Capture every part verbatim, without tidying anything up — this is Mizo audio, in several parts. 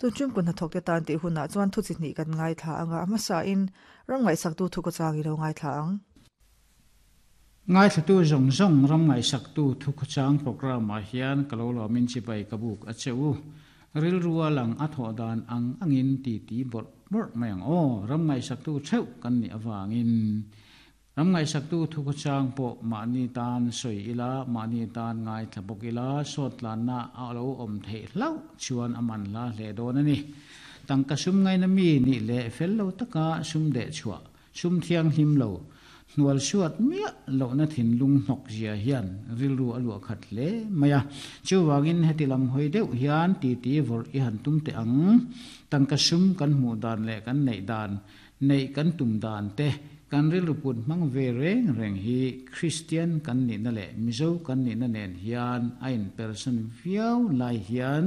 Tun tum kun hnathawk te tan tih hunah chuan thu chi hnih kan ngaithla anga a hmasa in ram ngaihsak tu thu khawchang i lo ngaithla ang. Ngaithla tu zawng zawng ram ngaihsak tu thu khawchang program ah hian ka lo lawmin chibai ka buk a che u. Rilru a lang a thawh dan ang angin ti ti bawrh bawrh mai ang aw. Ram ngaihsak tu theuh kan nih avangin ram ngaihsak tu thu khawchang pawh mahni tan sawi ila, mahni tan ngaithla bawk ila, sawt tlanna a lo awm theih hlauh chuan a man hla hle dawn a ni. Tangka sum ngaina mi nih leh fel lo taka sum deh chhuah, sum thianghlim lo, hnual suat miah lohna thinlung hnawk zia hian rilru a luah khat hle mai a. Chuvangin heti lam hawi deuh hian titi vawrh i han tum teh ang. Tangka sum kan hmuh dan leh kan neih dan, neih kan tum dan te, kan rilru put hmang ve reng reng hi Kristian kan nihna leh Mizo kan nihna nen hian a inpersan viau lai hian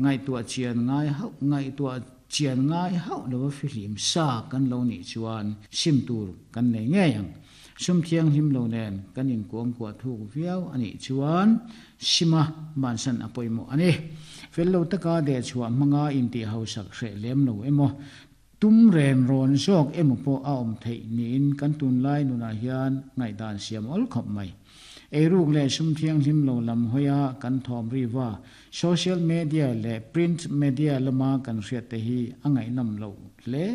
ngaihtuah chian ngai hauh ngaihtuah chian ngai hauh lova fihlim sa kan lo nih chuan sim tur kan nei ngei ang. Sum thianghlim lo nen kan inkuangkuah thuk viau a nih chuan sima bansan a pawimawh a ni. Fel lo taka dehchhuah hmanga intih hausak hreh lem lo emaw, tum ren rawn zawk emaw pawh a awm theih niin kan tunlai nunah hian ngaihdan siam awl khawp mai. Eiruk leh sum thianghlim lo lam hawia kan thawm riva, social media leh print media lama kan hriat te hi a ngaihnawm loh hle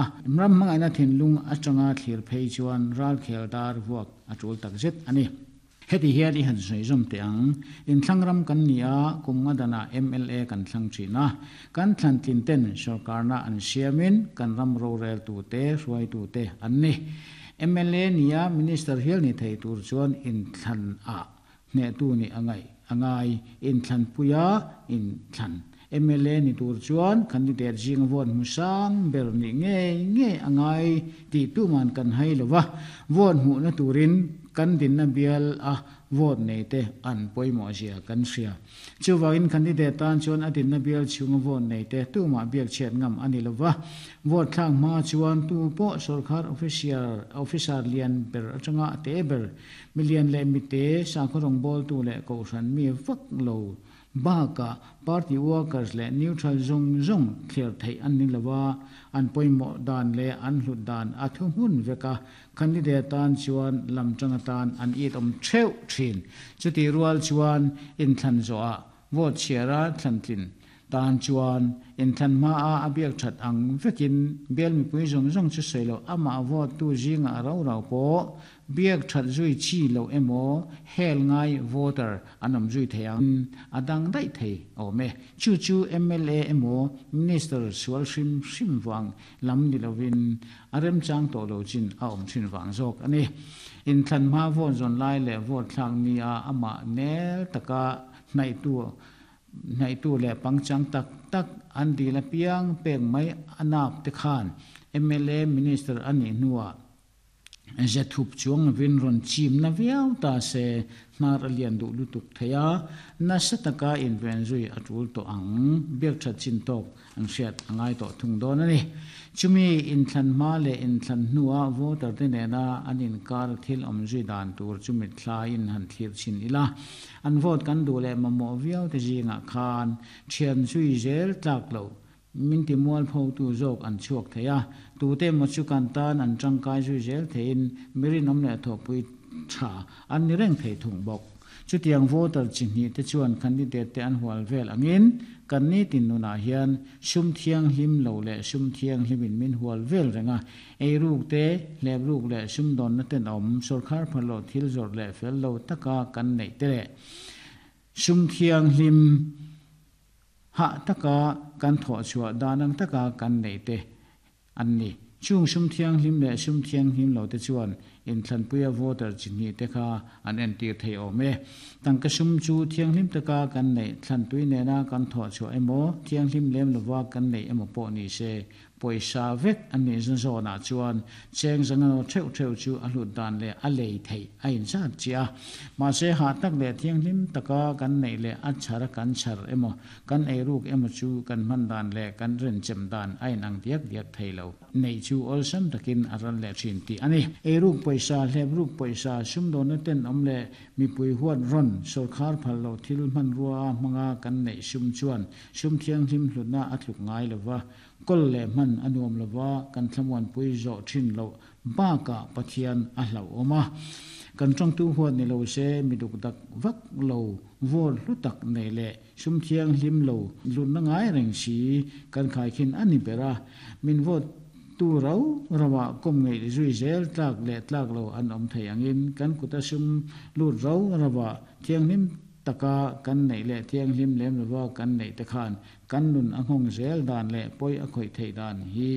a. Ram hmangaihna thinlung atanga thlir phei chuan ralkhel dar vuak a tul takzet a ni. Heti hian i han sawi zawm teh ang. Inthlang ram kan ni a, kum nga danah M L A kan thlang thin a. Kan thlan tlin ten sorkarna an siamin kan ram rorel tute, hruaitute an ni. M L A nia minister hial ni thei tur chuan inthlan ah hnehtu nih a ngaih a ngai. Inthlan puia inthlan M L A ni tur chuan candidate zinga vote hmu sang ber nih ngei ngei a ngai tih tuman kan hai lova. Vote hmuhna turin kan dinna bial a vote nei te an pawimawh zia kan hria. Chuvangin candidate tan chuan a dinna bial chhunga vote nei te tumah biak chhiat ngam a ni lova. Vote thlak hma chuan tu pawh sorkar official officer lian ber atanga a te ber, milian leh mite, sakhaw rawngbawltu leh kohhran mi vak lo bakah party workers leh neutral zawng zawng thliar theih an ni lova. An pawimawh dan leh an hlut dan a thu hmun vek a, candidate tan chuan lam tang atan an it awm theuh thin. Chuti rual chuan inthlan zawhah vote chhiara thlan tlin tan chuan inthlan hma a a biak that ang vekin bial mipui zawng zawng chu sawi lo, amah vote tu zinga a ro ro pawh biak that zui chi lo emaw hel ngai voter an awm zui thei ang, a dang daih thei awm e. Chu chu M L A emaw minister sual hrim hrim wang lam ni lovin a remchang tawh lo chin a awm thin wang zawk ani. Inthlan hma vote zawn lai leh vote thlak ni a amah nel taka hnaih tu hnaih tu leh pangchang tak tak an dil apiang pek mai anap te khan M L A minister ani hnuah ze thup chuang lovin rawn chim na viau ta se, hnar a lian duh lutuk thei a, nasa taka inven zui a tul tawh ang. Biak that chin tawk an hriat a ngai tawh thung dawn a ni. Chumi inthlan hma leh inthlan hnuah voter te nena an inkar thil awm zui dan tur chumi thlaiin han thlir chin ila. An vote kan duh leh mamawh viau te zingah khan thian zui zel tlak lo, min ti mual pho tu zawk an chhuak thei a. Tute maw chu kan tan an tangkai zui zel theiin mirin awm leh thawhpui tha an ni reng thei thung bawk. Chutiang voter chi hnih te chuan candidate te an hual vel angin kan ni tin nunah hian sum thianghlim lo leh sum thianghlimin min hual vel renga. Eiruk te, hlepruk leh sum dawnna ten awm, sorkar phalo thil zawrh leh fel lo taka kan neih te leh sum thianghlim ha taka kan thawh chhuah danang taka kan nei te an ni. Chung sum thianghlim leh sum thianghlim lo te chuan inthlanpuia voter chi hnih te kha an entir thei awm e. Tangka sum chu thianghlim taka kan neih, thlantui nena kan thawh chhuah emaw, thianghlim lem lova kan neih emaw pawh ni se, pawisa vek an nih zawnah chuan cheng zangano theuh theuh chu a hlut dan leh a lei theih a inzat chi a. Mahse ha tak leh thianghlim taka kan neih leh a chhara kan chhar emaw kan eiruk emaw chu kan hman dan leh kan renchem dan a inang diak diak thei lo. Neih chu awlsam takin a ral leh thin tih a ni. Eiruk pawisa Poisa hlep ruk poisa sumdawn na ten awm leh mipui huat rawn sawrkhar phal lo thil hman rua hmanga kan neih sum chuan sum thianghlim hlutna a tluk ngai lova kol leh hman a nuam lova kan thlamuan pui zawh thin lo baka Pathian a hlau awma kan tang tu huat ni lo se miduk dak vak lo vol hlu tak nei le sum thianghlim lo lun na ngai reng si kan khai khin ani bera min vot tu rau rawa kom ngei zui zel tlak le tlak lo an om thei angin kan kuta sum lut rau rawa thianghlim taka kan nei le thianghlim lem lova kan nei te khan kan nun a nghawng zel dan le poi a khoi thei dan hi.